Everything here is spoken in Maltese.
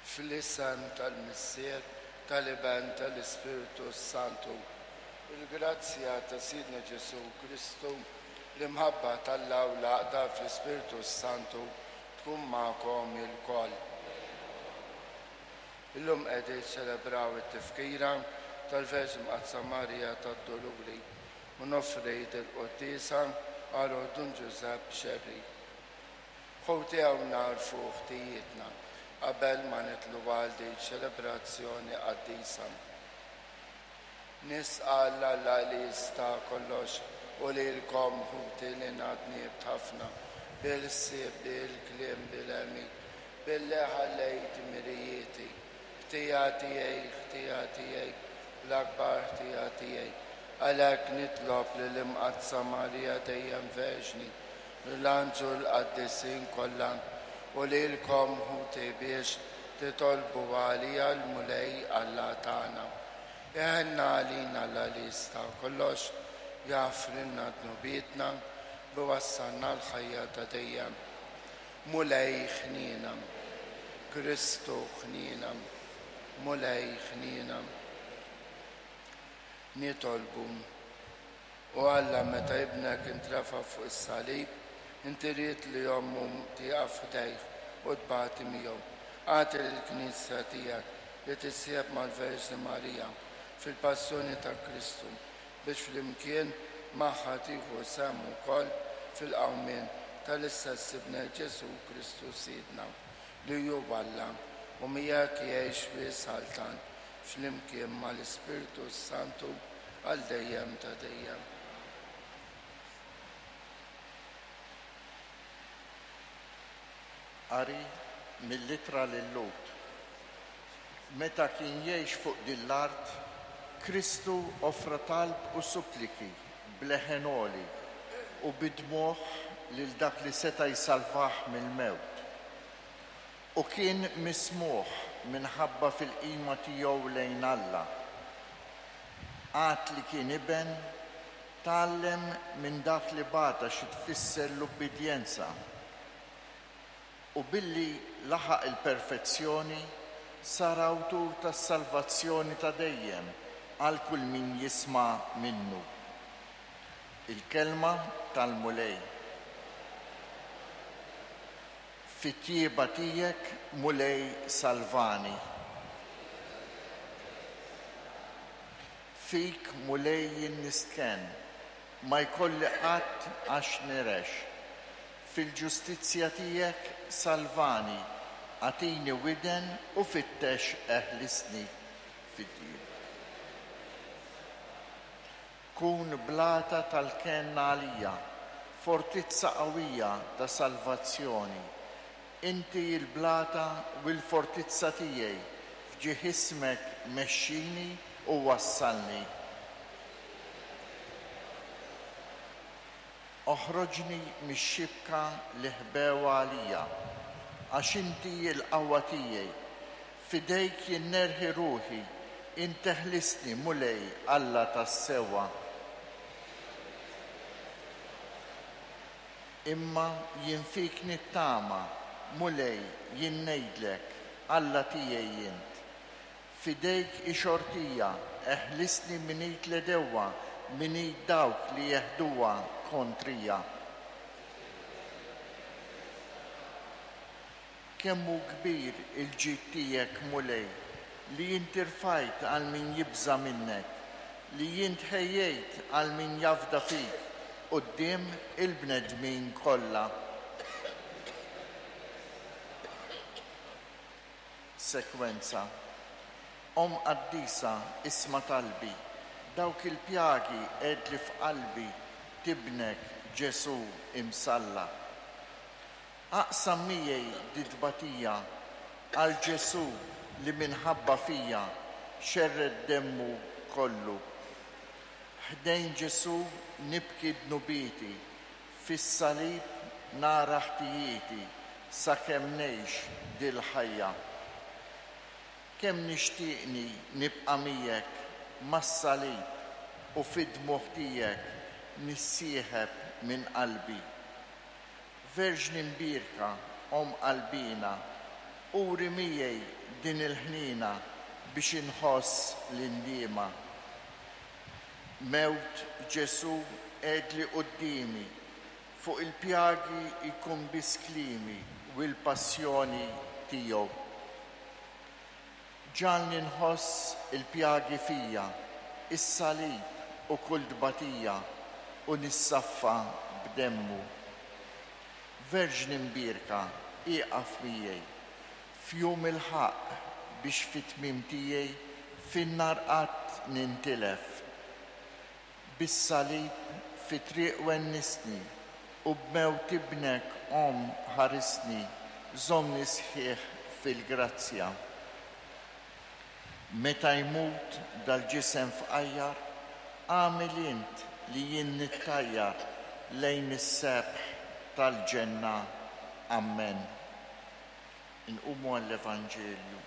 Fl-isem tal-Missier, tal-Iben, tal-Ispirtu s-Santu. Il-grazzja ta' Sidna Ġesù Kristu, l-imħabba t'Alla u l-għaqda fl-Ispirtu s-Santu tkun magħkom ilkoll. Illum qegħdin niċċelebraw it-tifkira tal-Verġni Mqaddsa Marija tad-Duluri u noffri dil-quddiesa għal Dun Ġużepp Xerri. Ħuti hawn nagħrfu ħtijietna qabel ma nidħlu għal din ċelebrazzjoni qaddisa. Nisqal 'l Alla li jista' kollox u lilkom ħuti li ngħadnibt ħafna bil-ħsieb, bil-kliem, bil-għemil, billi ħallejt mirijieti. Ħtija tiegħi, ħtija tiegħi, l-akbar ħtija tiegħi. Għalhekk nitlob lill-Imqaddsa Marija dejjem Verġni, lill-anġlu l-qaddisin kollha u lilkom ħuti biex titolbu għalija l-Mulej Alla tagħna. Iħenna għalina Alla li jista' kollox, jaħfrilna dnubietna u jwassalna l-ħajja ta' dejjem. Mulej ħniena. Kristu ħniena. Mulej ħniena. Nitolbu. O Alla, meta Ibnek intrefa' fuq is-salib, inti ridt li ommu tieqaf ħdejh u tbati miegħu. Agħti lill-Knisja tiegħek li tissieħeb mal-Verġni Marija fil-passjoni ta' Kristu, biex flimkien magħha tieħu sehem ukoll fil-qawmien tal-istess Ibnek Ġesù Kristu Sidna, li hu Alla, u miegħek jgħix u jsaltan flimkien mal-Ispirtu s-Santu għal dejjem ta' dejjem. Qari mill-Ittra lil-Lhud. Meta kien jgħix fuq din l-art, Kristu offra talb u suppliki b'leħen għoli u bi dmugħ lil dak li seta' jsalvah mill-mewt. U kien mismugħ minħabba fil-qima tiegħu lejn Alla. Għad li kien iben, tgħallem minn dak li bata xi tfisser l-ubbidjenza. U billi laħaq il-perfezzjoni, sar awtur tas-salvazzjoni ta' dejjem għal kull min jisma' minnu. Il-Kelma tal-Mulej. Fit-tjieba tiegħek, Mulej, salvani. Fik, Mulej, jien nistkenn, ma jkolli qatt għax nirex. Fil-ġustizzja tiegħek salvani, agħtini widen u fittex eħlisni. Fit-tjieba. Kun blata tal-kenn għalija, fortizza qawwija ta' salvazzjoni. Inti l-blata u l-fortizza tiegħi, f'ġieħ ismek mexxini u wassalni. Oħroġni mix-xibka li ħbew għalija, għax inti l-qawwa tiegħi. F'idejk jien nerħi ruħi, int eħlisni, Mulej, Alla tas-sewwa. Imma jien fik nittama, Mulej, jien ngħidlek, Alla tiegħi int. F'idejk hi xortija, eħlisni minn id l-għedewwa, minn id dawk li jeħduha kontrija. Kemm hu kbir il-ġid tiegħek, Mulej, li int irfajt għal min jibża' minnek, li int ħejjejt għal min jafda fik quddiem il-bnedmin kollha. Sekwenza, Omm qaddisa isma' talbi, dawk il-pjagi għedli f'qalbi t'Ibnek Ġesù imsallab. Aqsam miegħi dit-tbatija għal Ġesù li minħabba fija xerred demmu kollu. Ħdejn Ġesù nibki dnubieti Fis-salib nara ħtijieti sakemm ngħix dil-ħajja. Kemm nixtieqni nibqa' miegħek mas-salib u fid-dmugħ tiegħek nissieħeb minn qalbi. Verġni mbierka, Omm qalbiena. Uri miegħi din il-ħniena biex inħoss l-indiema. Mewt Ġesù għedli quddiemi, fuq il-pjagi jkun biss kliemi u l-passjoni tiegħu. Ġagħalni nħoss il-pjagi fija, is-salib u kull tbatija u nissaffa b'demmu. Verġni mbierka, ieqaf miegħi, f'jum il-ħaqq biex fit-tmiem tiegħi fin-nar qatt nintilef. Bis-salib fit-triq wennisni u b'mewt ibnek Omm ħarisni żommni sħiħ fil-grazzja. Meta jmut dal-ġisem fqajjar agħmel int li jien nittajjar lejn is-sebħ tal-ġenna. Ammen. Inqumu għall-Evanġelju.